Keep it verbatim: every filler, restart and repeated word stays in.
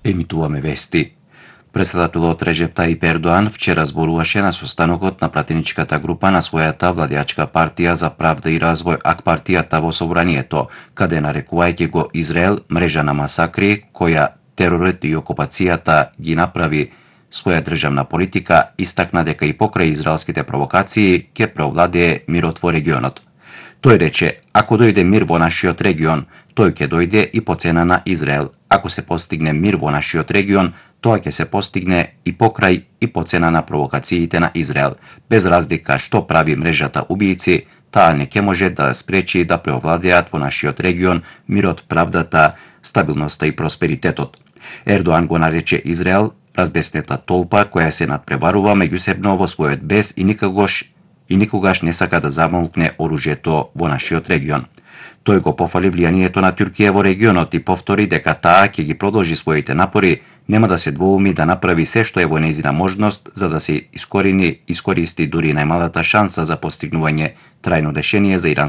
Емитуваме вести. Председателот Реджеп Таип Ердоан вчера зборуваше на состанокот на пратеничката група на својата владеачка партија за правда и развој ак партијата во собранието, каде нарекувајќи го Израел мрежа на масакри која теророт и окупацијата ги направи своја државна политика, истакна дека и покрај израелските провокации ќе преовладее мирот во регионот. Тој рече, ако дојде мир во нашиот регион, тој ќе дојде и по цена на Израел. Ако се постигне мир во нашиот регион, тоа ќе се постигне и покрај и по цена на провокациите на Израел. Без разлика што прави мрежата убијци, таа не ќе може да спречи да преовладеат во нашиот регион мирот, правдата, стабилноста и просперитетот. Ердоан го нарече Израел разбеснета толпа која се надпреварува меѓусебно во својот бес и никогаш и никогаш не сака да замолкне оружјето во нашиот регион. Тој го пофали влијанието на Туркија во регионот и повтори дека таа ќе ги продолжи своите напори, нема да се двоуми да направи се што е во нејзина можност за да се искорени, искористи дури најмалата шанса за постигнување трајно решение за иранското